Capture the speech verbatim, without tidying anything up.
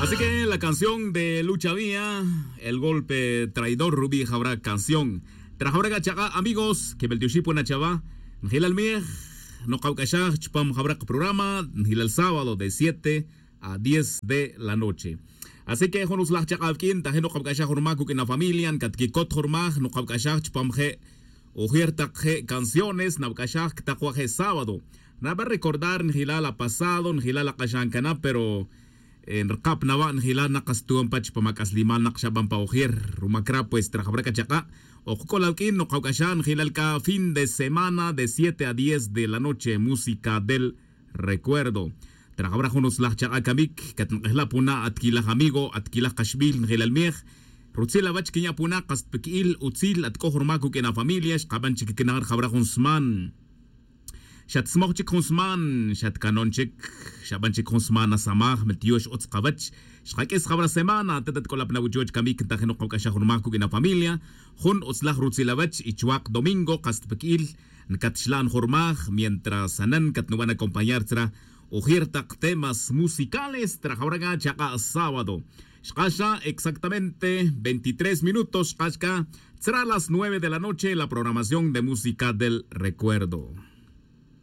Así que la canción de Lucha Vía, el golpe traidor, rubí jawra canción. Trajawra c'a chak'a' amigos que beltioxipuna chava. Njilal mij nokawc'axaj chupam jawra programa njilal sábado de siete a diez de la noche. Así que jun utzlaj chak'a' awq'uin tajin nokawc'axaj jun ruma cuq'uin afamilia ncatquicot jun ruma nokawc'axaj chupam je' ujir tak je' canciones nawc'axaj ctak wa je' sábado. Naba recordar njilal apasado njilal ak'axan canab pero nrkap nawa' njilal nak kastuwan pa chupam ac'aslimal nak xaban pa ujir. Ruma cra pues trajawra c'a chak'a' okc'ol awq'uin nokawc'axan njilal c'a fin de semana de siete a diez de la noche música del recuerdo. Trajawra jun utzlaj chak'a' camic catnk'ejla' puna' atquilaj amigo atquilaj kaxbil njilal mij. Rutzil awach quinya' puna' kastpiqui'il utzil atc'oj ruma cuq'uin afamilia xkaban chic quicna' rjawra jun sman. Xatsmoj chic jun sman xatcanon chic. Xaban chic jun sman asamaj meltiox utz kawach. Xkaq'uis jawra semana atet atc'olap na wuchoch camic ntajin nokawc'axaj jun ruma cuq'uin afamilia. Jun utzlaj rutzil awach y chuak' domingo kastpiqui'il ncatxlan jun rumaj mientras anan catnuban acompañar tzra ujir tak temas musicales trajawra c'a chak'a' sábado. Xkaxa exactamente veintitrés minutos xkaxa c'a tzra las nueve de la noche la programación de música del recuerdo.